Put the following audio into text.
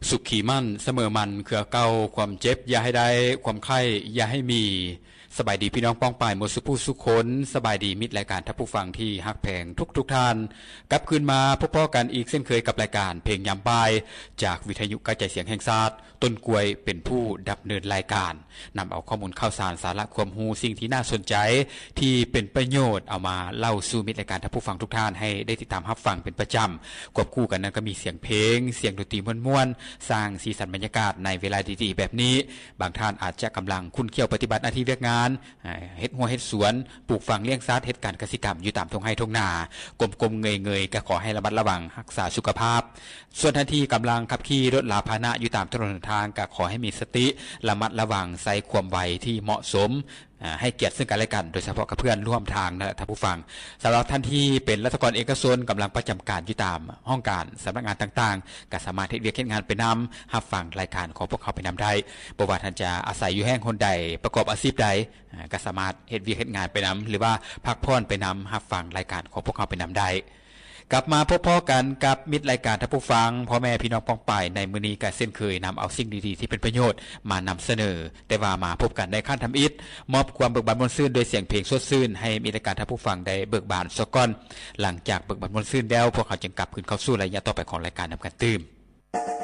ສຸຂີໝັ້ນສະເໝີໝັ້ນເຄືອເກົ່າ, ຄວາມເຈັບຢ່າໃຫ້ໄດ້, ຄວາມໄຂ້ຢ່າໃຫ້ມີ. ສະບາຍດີພີ່ນ້ອງປ້ອງປາຍໝົດສູ່ຜູ້ສູ່ຄົນ, ສະບາຍດີມິດລາຍການທ່ານຜູ້ຟັງທີ່ຮັກແພງທຸກໆທ່ານ. ກັບຄືນມາພົບພໍ້ກັນອີກເຊັ່ນເຄີຍກັບລາຍການເພງຍາມບ່າຍ ຈາກວິທະຍຸກະຈາຍສຽງແຫ່ງຊາດ, ຕົ້ນກ້ວຍເປັນຜູ້ດຳເນີນລາຍການ. ນຳເອົາຂໍ້ມູນຂ່າວສານ, ສາລະຄວາມຮູ້, ສິ່ງທີ່ໜ້າສົນໃຈ, ທີ່ເປັນປະໂຫຍດ ເອົາມາເລົ່າສູ່ມິດລາຍການທ່ານຜູ້ຟັງທຸກທ່ານໃຫ້ໄດ້ຕິດຕາມຮັບຟັງເປັນປະຈຳ. ຄວບຄູ່ກັນນັ້ນກໍມີສຽງເພງ, ສຽງດົນຕີມ່ວນໆ, ສ້າງສີສັນບັນຍາກາດໃນເວລາດີໆແບບນີ້. ບາງທ່ານອາດຈະກຳລັງຂຸ້ນຂ້ຽວປະຕິບັດໜ້າທີ່ວຽກງານ, ເຮັດຮົ້ວເຮັດສວນ, ປູກຝັງລ້ຽງສັດ, ເຮັດການກະສິກຳຢູ່ຕາມທົ່ງໄຮ່ທົ່ງນາ, ກົ້ມໆເງີຍໆ ກໍຂໍໃຫ້ລະມັດລະວັງຮັກສາສຸຂະພາບ. ສ່ວນທ່ານທີ່ກຳລັງຂັບຂີ່ລົດລາພາຫະນະຢູ່ຕາມຖະໜົນຫົນທາງ ກໍຂໍໃຫ້ມີສະຕິ, ລະມັດລະວັງ, ໃຊ້ຄວາມໄວທີ່ເໝາະສົມ, ອາ ໃຫ້ກຽດເຊິ່ງກັນແລະກັນ, ໂດຍສະເພາະກັບເພື່ອນຮ່ວມທາງນັ້ນແຫຼະທ່ານຜູ້ຟັງ. ສຳລັບທ່ານທີ່ເປັນລັດຖະກອນເອກະຊົນ ກຳລັງປະຈຳການຢູ່ຕາມຫ້ອງການສຳນັກງານຕ່າງໆ ກໍສາມາດເຮັດວຽກເຮັດງານໄປນຳ, ຮັບຟັງລາຍການຂອງພວກເຮົາໄປນຳໄດ້. ບໍ່ວ່າທ່ານຈະອາໄສຢູ່ແຫ່ງຫົນໃດ, ປະກອບອາຊີບໃດ, ອາ ກໍສາມາດເຮັດວຽກເຮັດງານໄປນຳ ຫຼືວ່າພັກຜ່ອນໄປນຳ, ຮັບຟັງລາຍການຂອງພວກເຮົາໄປນຳໄດ້. ກັບມາພົບພໍ້ກັນກັບມິດລາຍການທ່ານຜູ້ຟັງ, ພໍ່ແມ່ພີ່ນ້ອງປ້ອງປາຍ, ໃນມື້ນີ້ກໍເຊັ່ນເຄີຍນຳເອົາສິ່ງດີໆທີ່ເປັນປະໂຫຍດມານຳສະເໜີ. ແຕ່ວ່າມາພົບກັນໃນຄັ້ງທຳອິດ, ມອບຄວາມເບີກບານມ່ວນຊື່ນດ້ວຍສຽງເພງສົດຊື່ນ ໃຫ້ມິດລາຍການທ່ານຜູ້ຟັງໄດ້ເບີກບານສາກ່ອນ. ຫຼັງຈາກເບີກບານມ່ວນຊື່ນແລ້ວ, ພວກເຮົາຈຶ່ງກັບຄືນເຂົ້າສູ່ໄລຍະຕໍ່ໄປຂອງລາຍການນຳກັນຕື່ມ.